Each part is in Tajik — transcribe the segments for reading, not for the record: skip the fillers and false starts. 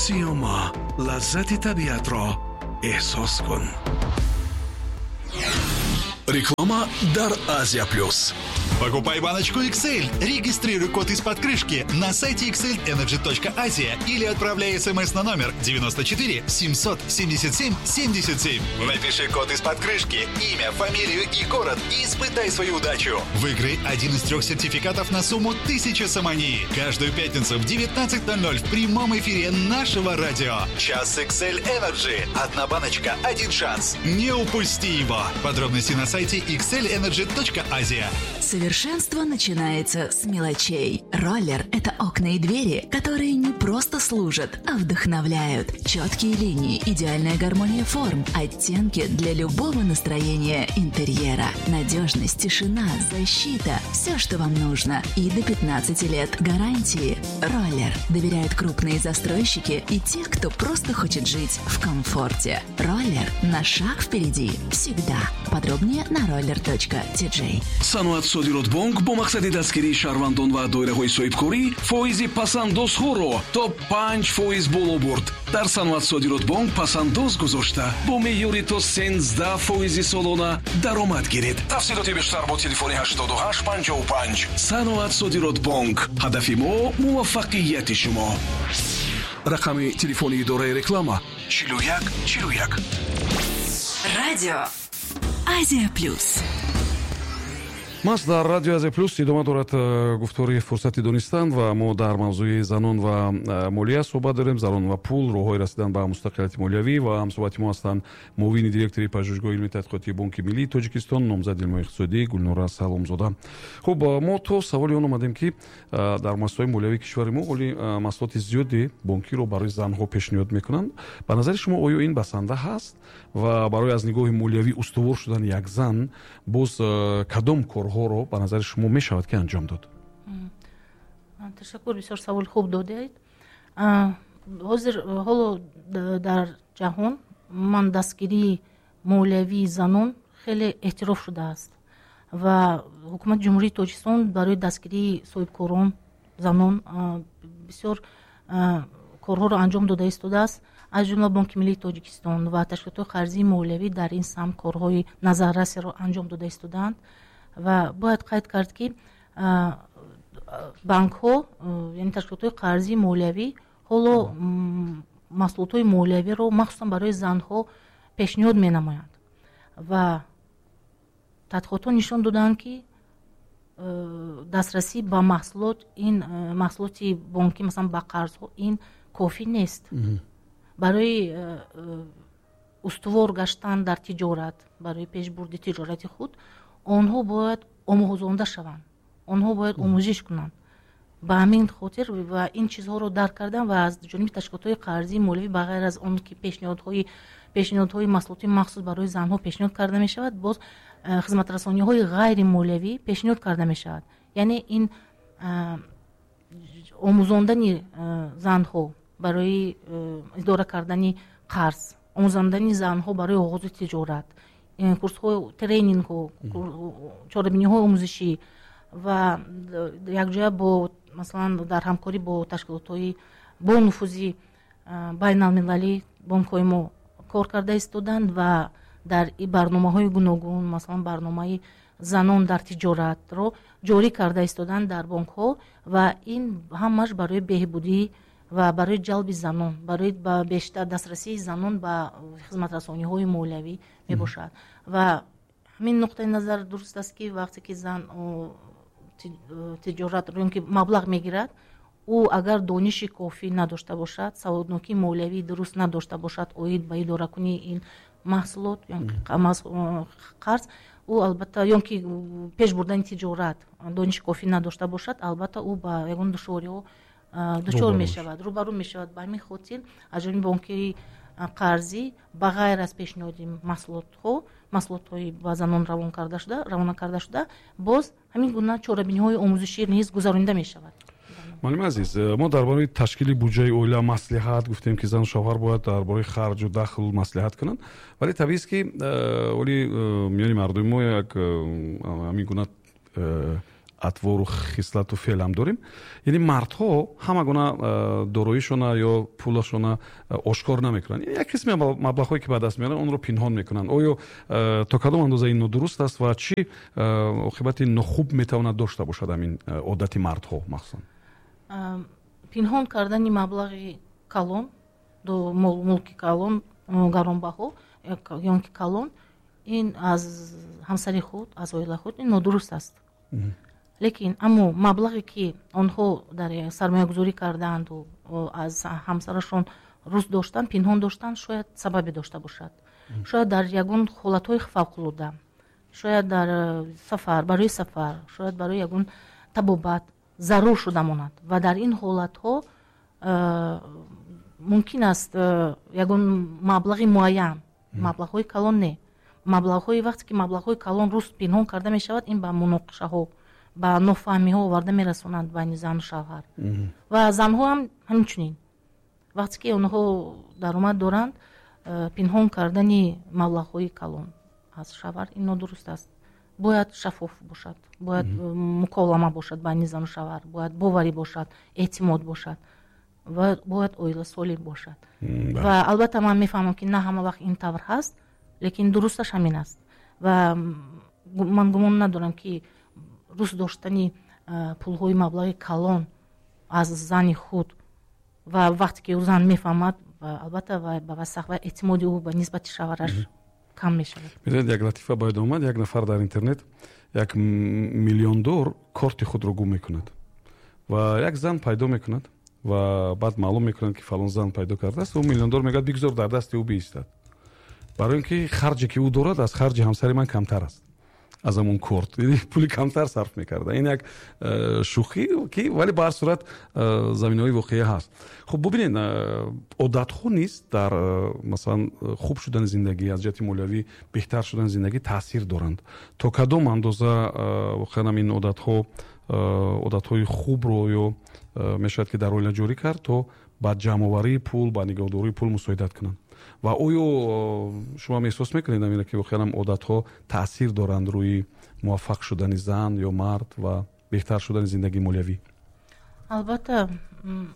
Сиёма, лаззати табиатро эҳсос кун. Реклама дар Азия Плюс. Покупай баночку XL. Регистрируй код из-под крышки на сайте xlenergy.asia или отправляй смс на номер 94 777 77. Напиши код из-под крышки, имя, фамилию и город и испытай свою удачу. Выиграй один из трех сертификатов на сумму 1000 сомони. Каждую пятницу в 19:00 в прямом эфире нашего радио. Час XL Energy. Одна баночка, один шанс. Не упусти его. Подробности на сайте xlenergy.asia. Совершенство начинается с мелочей. Роллер – это окна и двери, которые не просто служат, а вдохновляют. Четкие линии, идеальная гармония форм, оттенки для любого настроения интерьера. Надежность, тишина, защита – все, что вам нужно. И до 15 лет гарантии. Роллер доверяют крупные застройщики и те, кто просто хочет жить в комфорте. Роллер на шаг впереди всегда. Подробнее на roller.tj. Саноат Содиротбонк бо мақсади дастгирии шаҳрвандон ва доираҳои соҳибкорӣ фоизи пасандозҳоро то 5% боло бурд. Дар Саноат Содиротбонк пасандоз гузошта, бо меъёри то 13% солона даромад гиред. Тафсилоти бештар бо телефони 8855. Саноат Содиротбонк, ҳадафи мо муваффақияти шумо. Рақами телефони идораи реклама 41 41. Радио Азия Плюс. Маҳз дар Радио Азия Плюс идома дорад гуфтори «Фурсати донистан» ва мо дар мавзӯи занон ва молия суҳбат дорем, занон ва пул, роҳҳои расидан ба мустақилияти молиявӣ. Ва ҳамсуҳбати мо ҳастанд муовини директори Пажӯҳишгоҳи илми тадқиқотии Бонки Миллии Тоҷикистон, номзади илмҳои иқтисодӣ Гулнора Саломзода. Хуб, мо то саволи он омадем, ки дар муассисаҳои молиявии кишвари мо оли маҳсулоти зиёди бонкиро барои занҳо пешниҳод мекунанд. Ба назари шумо, оё ин басанда ҳаст ва барои аз нигоҳи молиявӣ устувор шудани як зан боз кадом корҳоро ба назари шумо мешавад, ки анҷом дод? Ташаккур, бисёр саволи хуб додаед. Ҳозир ҳоло дар ҷаҳон ман дастгирии молиявии занон хеле эътироф шудааст ва Ҳукумати Ҷумҳурии Тоҷикистон барои дастгирии соҳибкорон занон бисёр корҳоро анҷом дода истодааст. Аз ҷумла Бонки Миллии Тоҷикистон ва ташкилотҳои қарзии молиявӣ дар ин самт корҳои назаррасеро анҷом дода истодаанд. Ва бояд қайд кард, ки банкҳо, яъне ташкилотҳои қарзии молиявӣ, ҳоло маҳсулотҳои молиявиро махсусан барои занҳо пешниҳод менамоянд ва тадқиқотҳо нишон доданд, ки дастрасӣ ба маҳсулот, ин маҳсулоти бонкӣ, масалан, ба қарзҳо, ин кофӣ нест барои устувор гаштан дар тиҷорат, барои пешбурди тиҷорати худ. Онҳо бояд омӯзонда шаванд, онҳо бояд омӯзиш кунанд. Ба ҳамин хотир ва ин чизҳоро дарк кардан ва аз ҷониби ташкилотҳои қарзии молиявӣ, ба ғайр аз он ки пешниҳодҳои маҳсулоти махсус барои занҳо пешниҳод карда мешавад, боз хизматрасониҳои ғайримолиявӣ пешниҳод карда мешавад. Яъне ин омӯзондани занҳо барои идора кардани қарз, омӯзондани занҳо барои оғози тиҷорат, курсҳо, тренингҳо, чорабиниҳои омӯзишӣ ва якҷоя бо, масалан, дар ҳамкорӣ бо ташкилотҳои бонуфузи байналмилалӣ бонкҳои мо кор карда истоданд ва дар барномаҳои гуногун, масалан, барномаи занон дар тиҷоратро ҷорӣ карда истоданд дар бонкҳо. Ва ин ҳамаш барои беҳбудӣ ва барои ҷалби занон, барои ба бештар дастрасии занон ба хизматрасониҳои молиявӣ мебошад. Ва ҳамин нуқтаи назар дуруст аст, ки вақте ки зан тиҷорат ё ки маблағ мегирад, ӯ агар дониши кофӣ надошта бошад, саводнокии молиявии дуруст надошта бошад оид ба идоракунии ин маҳсулот ё қарз, ӯ албатта, ё ки пеш бурдани тиҷорат дониши кофӣ надошта бошад, албатта, ӯ ба ягон душвориҳо дучор мешавад, рӯбарӯ мешавад. Ба ҳамин хотир аз ҷониби бонкии қарзӣ, ба ғайр аз пешниҳоди маҳсулотҳо, маҳсулотҳои ба занон равона карда шуда, боз ҳамин гуна чорабиниҳои омӯзишӣ низ гузаронида мешавад. Муаллими азиз, мо дар бораи ташкили буҷаи оила маслиҳат гуфтем, ки зану шавҳар бояд дар бораи харҷу дахл маслиҳат кунанд, вале табиист, ки оли миёни мардуми мо як ҳамин гуна Атвору хислату феълам дорем. Яъне мардҳо ҳама гуна дороишона ё пулашона ошкор намекунанд, як қисми маблағҳое, ки ба даст меоранд, онро пинҳон мекунанд. Оё то кадом андоза ин нодуруст аст ва чӣ оқибати нохуб метавонад дошта бошад ҳамин одати мардҳо махсусан? Пинҳон кардани маблағи калон, мулки калон, гаронбаҳо ё ки калон, ин аз ҳамсари худ, аз оилаи худ, ин нодуруст аст. Лекин аммо маблағе, ки онҳо дар сармоягузорӣ кардаанду аз ҳамсарашон рӯст доштанд, пинҳон доштанд, шояд сабабе дошта бошад. Шояд дар ягон ҳолатҳои фавқулода, шояд дар сафар, барои сафар, шояд барои ягон табобат зарур шуда монад ва дар ин ҳолатҳо мумкин аст ягон маблағи муайян, маблағҳои калон не, маблағҳои, вақте ки маблағҳои калон рӯст пинҳон карда мешавад, ин ба муноқишаҳо, ба нофаҳмиҳо оварда мерасонанд байни зану шавҳар. Ва занҳо ҳам ҳамчунин, вақте ки онҳо даромад доранд, пинҳон кардани маблағҳои калон аз шавҳар, ин нодуруст аст. Бояд шаффоф бошад, бояд муколама бошад байни зану шавҳар, бояд боварӣ бошад, эътимод бошад ва бояд оила солим бошад. Ва албатта ман мефаҳмам, ки на ҳама вақт ин тавр ҳаст, лекин дурусташ ҳамин аст. Ва ман гумон надорам, ки рӯст доштани пулҳои маблағи калон аз зани худ ва вақте ки ӯ зан мефаҳмад, албатта ба васах ва эътимоди ӯ ба нисбати шавҳараш кам мешавад. Медонед, як латифа бояд омад. Як нафар дар интернет, як миллиондор корти худро гум мекунад ва як зан пайдо мекунад ва баъд маълум мекунад, ки фалон зан пайдо кардааст. Ӯ миллиондор мегӯяд: «Бигзор дар дасти ӯ биистад, барои ин ки харҷе, ки ӯ дорад, аз харҷи ҳамсари ман камтар аст, аз ҳамон корт пули камтар сарф мекарда». Ин як шӯхӣ ки, вале ба ҳар сурат заминаҳои воқеӣ ҳаст. Хуб, бубинед, одатҳо низ дар масалан хуб шудани зиндагӣ, аз ҷиҳати молиявӣ беҳтар шудани зиндагӣ таъсир доранд. То кадом андоза воқеан ҳам ин одатҳо, одатҳои хубро ё мешавад, ки дар оила ҷорӣ кард, то ба ҷамъоварии пул, ба нигоҳдории пул мусоидат кунанд? Ва оё шумо ҳам эҳсос мекунед амира, ки воқеан ҳам одатҳо таъсир доранд рӯи муваффақ шудани зан ё мард ва беҳтар шудани зиндагии молиявӣ? Албатта,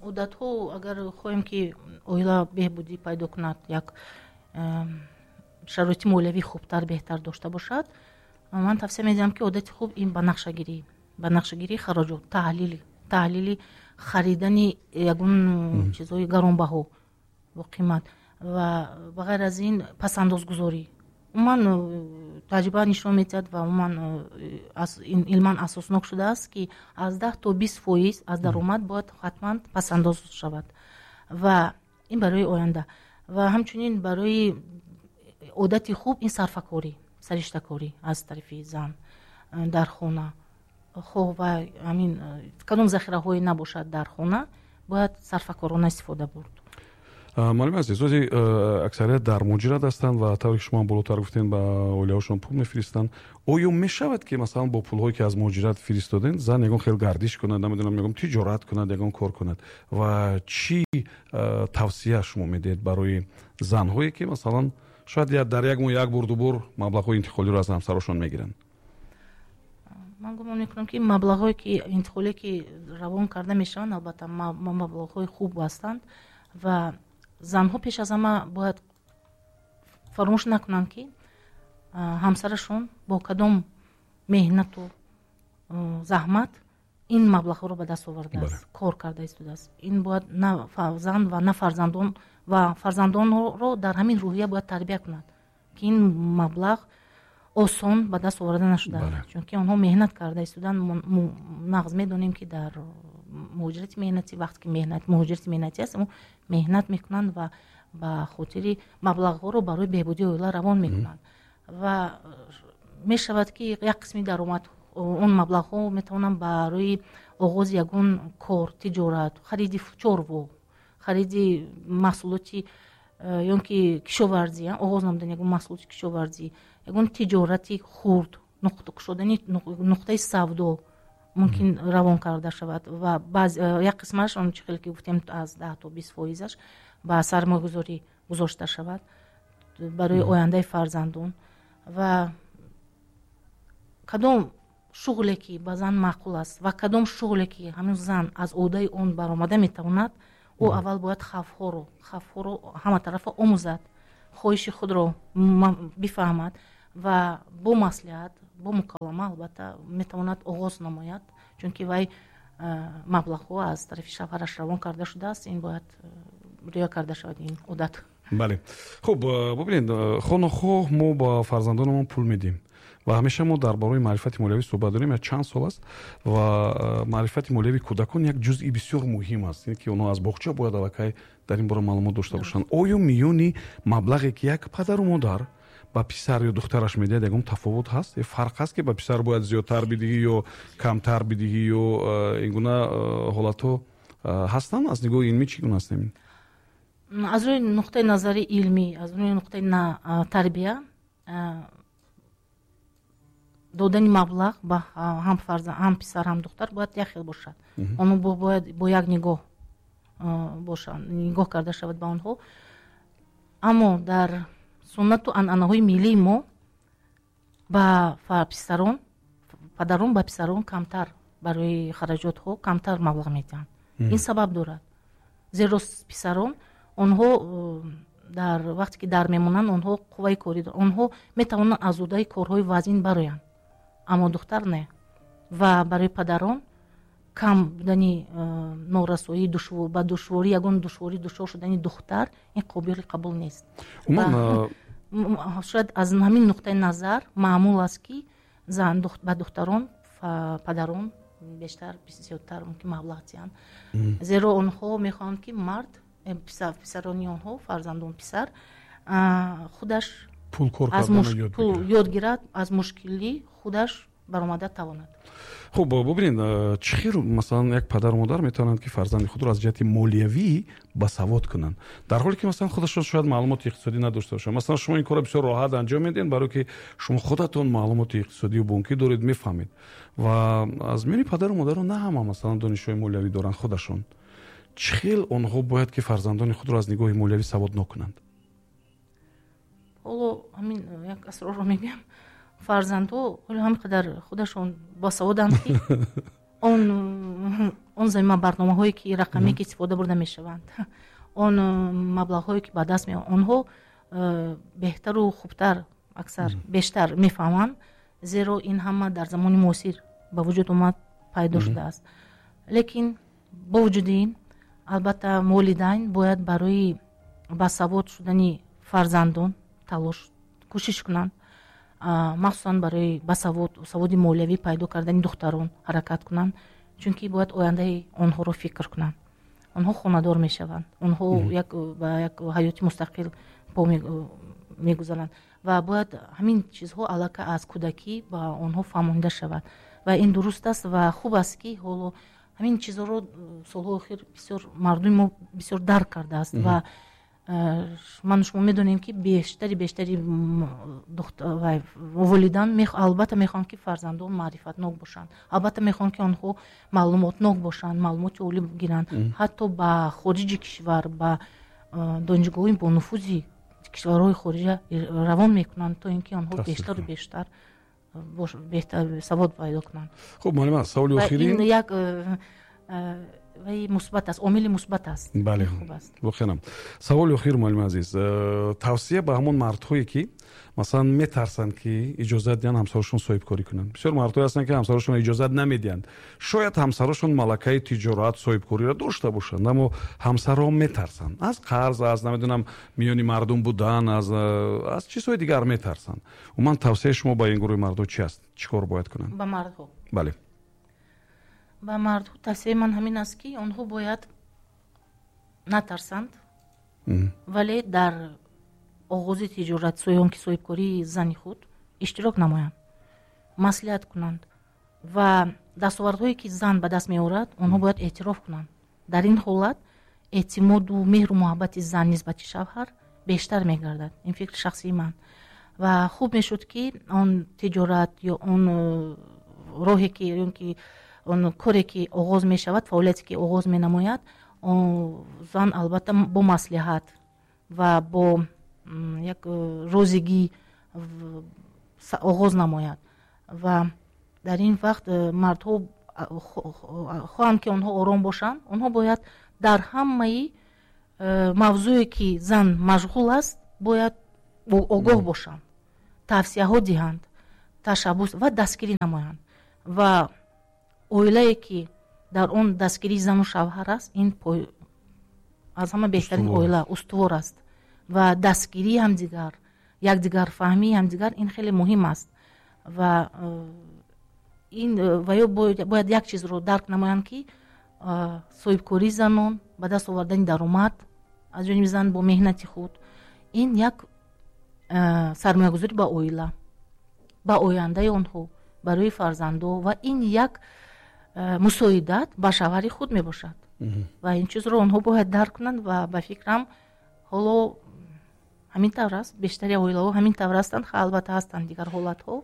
одатҳо, агар хоҳем, ки оила беҳбудӣ пайдо кунад, як шароити молиявӣ хубтар, беҳтар дошта бошад, ман тавсия медиҳам, ки одати хуб ин ба нақшагирии хароҷот, таҳлили харидани ягон чизҳои гаронбаҳо, боқимат ва ба ғайр аз ин пасандозгузорӣ. Умуман таҷриба нишон медиҳад ва умуман илман асоснок шудааст, ки аз 10 то 20% аз даромад бояд ҳатман пасандоз шавад ва ин барои оянда. Ва ҳамчунин барои одати хуб ин сарфакорӣ, сариштакорӣ аз тарафи зан дар хона, хоҳ ва ҳамин кадом захираҳое набошад дар хона, бояд сарфакорона истифода бурд. Муаллими азиз, ози аксарият дар муҳоҷират ҳастанд ва тавре ки шумо болотар гуфтем, ба оилаҳошон пул мефиристанд. Оё мешавад, ки масалан бо пулҳое, ки аз муҳоҷират фиристодем, зан ягон хел гардиш кунад, намедонам, ягон тиҷорат кунад, ягон кор кунад? Ва чӣ тавсия шумо медиҳед барои занҳое, ки масалан шояд дар як моҳ як бор, ду бор маблағҳои интиқолиро аз ҳамсарошон мегиранд? Ман гумон мекунам, ки маблағҳое ки интиқолие, ки равон карда мешаванд, албатта маблағҳои хуб ҳастанд ва занҳо пеш аз ҳама бояд фаромӯш накунанд, ки ҳамсарашон бо кадом меҳнату заҳмат ин маблағҳоро ба даст овардааст, кор карда истодааст. Ин бояд на зан ва на фарзандон, ва фарзандонро дар ҳамин рӯҳия бояд тарбия кунад, ки ин маблағ осон ба даст оварда нашудааст, чунки онҳо меҳнат карда истоданд. Нағз медонем, ки дар муҳоҷирати меҳнатӣ, вақте ки муҳоҷирати меҳнатӣ аст, меҳнат мекунанд ва ба хотири маблағҳоро барои беҳбудии оила равон мекунанд. Ва мешавад, ки як қисми даромад, он маблағҳо метавонанд барои оғози ягон кор, тиҷорат, хариди чорво, хариди маҳсулоти ё ки кишоварзӣ, оғоз намудани ягон маҳсулоти кишоварзӣ, ягон тиҷорати хурд, кушодани нуқтаи савдо мумкин равон карда шавад. Ва як қисмаш, он чӣ хеле ки гуфтем, аз 10 то 20 фоизаш ба сармоягузорӣ гузошта шавад барои ояндаи фарзандон. Ва кадом шуғле ки ба зан маъқул аст ва кадом шуғле ки ҳамин зан аз ӯҳдаи он баромада метавонад, ӯ аввал бояд хавфҳоро ҳаматарафа омӯзад, хоҳиши худро бифаҳмад ва бо маслиҳат, бо муколама албатта метавонад оғоз намояд, чунки вай маблағҳо аз тарафи шавҳараш равон карда шудааст, ин бояд риоя карда шавад ин одат. Бале. Хуб, бубинед, хонахоҳ мо ба фарзандонамон пул медиҳем ва ҳамеша мо дар бораи маърифати молиявӣ суҳбат дорем, як чанд сол аст ва маърифати молиявии кӯдакон як ҷузъи бисёр муҳим аст, ки онҳо аз боғча бояд аллакай дар ин бора маълумот дошта бошанд. Оё миёни маблағе ки як падару модар ба писар ё духтараш медиҳад, ягон тафовут ҳаст? Фарқ ҳаст ки ба писар бояд зиёдтар бидиҳӣ ё камтар бидиҳӣ ё ин гуна ҳолатҳо ҳастанд? Аз нигоҳи илмӣ чӣ гуна ҳастем? Аз рӯи нуқтаи назари илмӣ, аз рӯи нуқтаи тарбия, додани маблағ ба ҳам фарзанд, ҳам писар, ҳам духтар бояд як хел бошад. Онҳо бояд бо як нигоҳ бошанд, нигоҳ карда шавад ба онҳо. Аммо дар суннату анъанаҳои миллии мо ба писарон, падарон ба писарон камтар барои хараҷотҳо камтар маблағ медиҳанд. Ин сабаб дорад, зеро писарон онҳо дар вақте ки дар мемонанд, онҳо қувваи корӣ доранд, онҳо метавонанд аз ӯҳдаи корҳои вазин бароянд, аммо духтар не. Ва барои падарон кам будани норасоӣ, ба душворӣ, ягон душворӣ дучор шудани духтар ин қобили қабул нест. Шояд аз ҳамин нуқтаи назар маъмул аст, ки зан ба духтарон падарон бештар, зиёдтар мумкин маблағ диҳанд, зеро онҳо мехоҳанд, ки мард, писарони онҳо, фарзандон писар худаш пул кор карданро ёд гирад, аз мушкилӣ худаш баромада тавонад. Хуб, бубинед, чӣ хел масалан як падару модар метавонанд, ки фарзанди худро аз ҷиҳати молиявӣ басавод кунанд, дар ҳоле ки масалан худашон шояд маълумоти иқтисодӣ надошта бошанд. Масалан шумо ин корро бисёр роҳат анҷом медиҳед, барои ки шумо худатон маълумоти иқтисодию бонкӣ доред, мефаҳмед. Ва аз миёни падару модарон на ҳама масалан донишҳои молиявӣ доранд худашон. Чӣ хел онҳо бояд ки фарзандони худро аз нигоҳи молиявӣ саводнок кунанд? Ҳоло ҳамин як асрорро мегӯям. Фарзандҳо ҳоло ҳам қадар худашон босаводанд, ки он замима барномаҳое ки рақамие ки истифода бурда мешаванд, он маблағҳое ки ба даст меоянд, онҳо беҳтару хубтар, аксар бештар мефаҳманд, зеро ин ҳама дар замони муосир ба вуҷуд омад, пайдо шудааст. Лекин бо вуҷуди ин албатта волидайн бояд барои басавод шудани фарзандон талош, кӯшиш кунанд, махсусан барои саводи молиявӣ пайдо кардани духтарон ҳаракат кунанд, чунки бояд ояндаи онҳоро фикр кунанд. Онҳо хонадор мешаванд, онҳо ба як ҳаёти мустақил по мегузаранд ва бояд ҳамин чизҳо аллакай аз кӯдакӣ ба онҳо фаҳмонида шавад. Ва ин дуруст аст ва хуб аст, ки ҳоло ҳамин чизҳоро солҳои охир бисёр мардуми мо бисёр дарк кардааст ва ман шумо медонем, ки бештари волидан албатта мехоҳанд, ки фарзандон маърифатнок бошанд, албатта мехоҳанд, ки онҳо маълумотнок бошанд, маълумоти олӣ гиранд, ҳатто ба хориҷи кишвар, ба донишгоҳҳои бонуфузи кишварҳои хориҷа равон мекунанд, то ин ки онҳо бештару бештар беҳтар савод пайдо кунанд. Хуб, муаллима, саволи охирин. Ин як вай мусбат аст, омили мусбат аст. Бале, воқеан. Саволи охир, муаллими азиз, тавсия ба ҳамон мардҳое ки масалан метарсанд, ки иҷозат диҳанд ҳамсарашон соҳибкорӣ кунанд. Бисёр мардҳое ҳастанд, ки ҳамсарашон иҷозат намедиҳанд. Шояд ҳамсарашон малакаи тиҷорат, соҳибкориро дошта бошанд, аммо ҳамсарон метарсанд аз қарз, аз намедонам миёни мардум будан, аз чизҳои дигар метарсанд. Умуман тавсияи шумо ба ин гурӯҳи мардҳо чи аст? Чӣ кор бояд кунанд? Ба мардҳо? Бале. Ба мардҳо тавсияи ман ҳамин аст, ки онҳо бояд натарсанд, вале дар оғози тиҷорат, он ки соҳибкории зани худ иштирок намоянд, маслиҳат кунанд ва дастовардҳое ки зан ба даст меорад, онҳо бояд эътироф кунанд. Дар ин ҳолат эътимоду меҳру муҳаббати зан нисбати шавҳар бештар мегардад. Ин фикри шахсии ман. Ва хуб мешуд, ки он тиҷорат ё он роҳе ки ё ки он коре ки оғоз мешавад, фаъолияте ки оғоз менамояд, зан албатта бо маслиҳат ва бо як розигӣ оғоз намояд. Ва Дар ин вақт мардҳо хоҳанд, ки онҳо ором бошанд, онҳо бояд дар ҳамаи мавзӯе, ки зан машғул аст, бояд огоҳ бошанд, тавсияҳо диҳанд, ташаббус ва дастгирӣ намоянд. Ва оилае, ки дар он дастгирии зану шавҳар аст, ин аз ҳама беҳтарин оила устувор аст. Ва дастгирии ҳамдигар, якдигарфаҳмии ҳамдигар ин хеле муҳим аст. Ва ин ва ё бояд як чизро дарк намоянд, ки соҳибкории занон, ба даст овардани даромад аз ҷониби зан бо меҳнати худ, ин як сармоягузорӣ ба оила, ба ояндаи онҳо, барои фарзандо, ва ин як мусоидат ба шавҳари худ мебошад. Ва ин чизро онҳо бояд дарк кунанд. Ва ба фикрам, ҳоло ҳамин тавр аст, бештари оилаҳо ҳамин тавр ҳастанд. Албатта, ҳастанд дигар ҳолатҳо.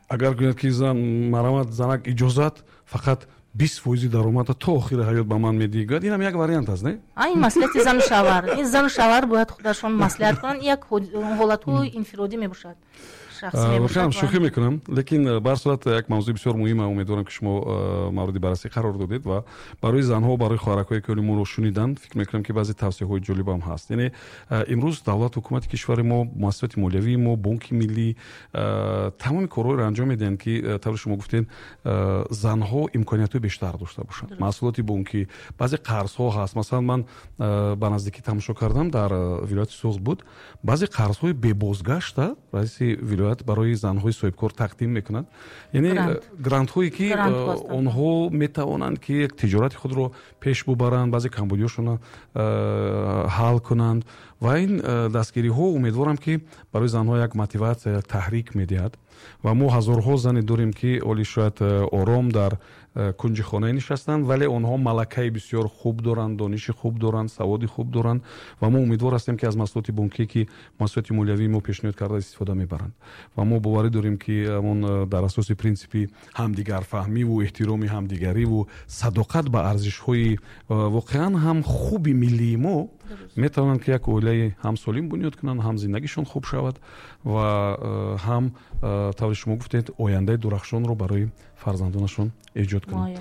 Агар гӯяд, ки зан марамат, занак, иҷозат, фақат 20 фоизи даромада то охири ҳаёт ба ман медиҳӣ, гӯяд, инам як вариант аст, не? Ин маслиҳати зану шавҳар, ин зану шавҳар бояд худашон маслиҳат кунанд. Як ҳолатҳои инфиродӣ мебошад. Воқеан, шӯхӣ мекунам, лекин ба ҳар сурат як мавзӯи бисёр муҳима. Умедворам, ки шумо мавриди баррасӣ қарор додед ва барои занҳо, барои хоҳаракҳое, ки моро шуниданд, фикр мекунам, ки баъзе тавсияҳои ҷолибам ҳаст. Яъне имрӯз давлат, ҳукумати кишвари мо, муассисоти молиявии мо, Бонки Миллӣ тамоми корҳоеро анҷом медиҳанд, ки тавре шумо гуфтед, занҳо имкониятҳои бештар дошта бошанд. Маҳсулоти бонкӣ, баъзе қарзҳо ҳаст. Масалан, ман ба наздикӣ тамошо кардам, дар вилояти Суғд буд, баъзе қарзҳои бебозгашта раиси вилоят барои занҳои соҳибкор тақдим мекунад, яъне грантҳое, ки онҳо метавонанд, ки як тиҷорати худро пеш бубаранд, баъзе камбудиҳошонро ҳал кунанд. Ва ин дастгириҳо, умедворам, ки барои занҳо як мотиватсия, як таҳрик медиҳад. Ва мо ҳазорҳо зане дорем, ки оли шояд ором дар кунҷи хонае нишастанд, вале онҳо малакаи бисёр хуб доранд, дониши хуб доранд, саводи хуб доранд. Ва мо умедвор ҳастем, ки аз маҳсулоти бонкие, ки муассисоти молиявии мо пешниҳод карда, истифода мебаранд. Ва мо боварӣ дорем, ки ҳамон дар асоси принсипи ҳамдигарфаҳмиву эҳтироми ҳамдигариву садоқат ба арзишҳои воқеан ҳам хуби миллии мо метавонанд, ки як оилаи ҳам солим бунёд кунанд, ҳам зиндагишон хуб шавад ва ҳам, тавре шумо гуфтед, ояндаи дурахшонро барои фарзандонашон эҷод кунанд.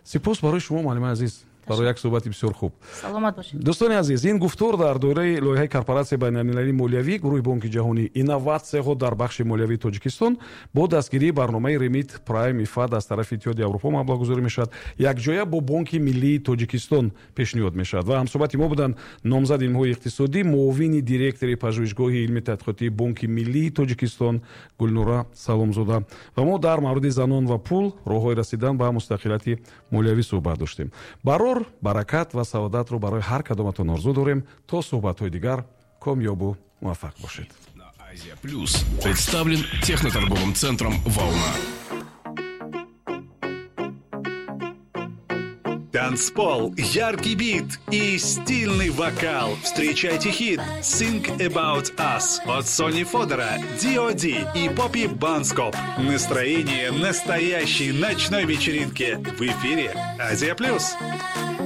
Сипос барои шумо, муаллимаи азиз, барои як суҳбати бисёр хуб. Саломат бошед. Дӯстони азиз, ин гуфтор дар доираи лоиҳаи Корпоратсияи байналмилалии молиявӣ, гурӯҳи Бонки Ҷаҳонӣ, инноватсияҳо дар бахши молиявии Тоҷикистон бо дастгирии барномаи Ремит Прайм ИФАД аз тарафи Иттиҳоди Аврупо маблағгузорӣ мешавад, якҷоя бо Бонки Миллии Тоҷикистон пешниҳод мешавад. Ва ҳамсӯҳбати мо буданд номзади илмҳои иқтисодӣ, муовини директори Пажӯҳишгоҳи илми тадқиқотии Бонки Миллии Тоҷикистон Гулнора Саломзода. Ва мо дар мавриди занон ва пул, роҳҳои расидан ба мустақилияти молиявӣ суҳбат доштем. Барор, баракат ва саодатро барои ҳар кадоматон орзу дорем. То суҳбатҳои дигар комёбу муваффақ бошед. Азия Плюс представлен техноторговым центром «Волна». Танцпол, яркий бит и стильный вокал. Встречайте хит «Think About Us» от Сони Фодора, D.O.D. и Поппи Банскоп. Настроение настоящей ночной вечеринки в эфире «Азия Плюс».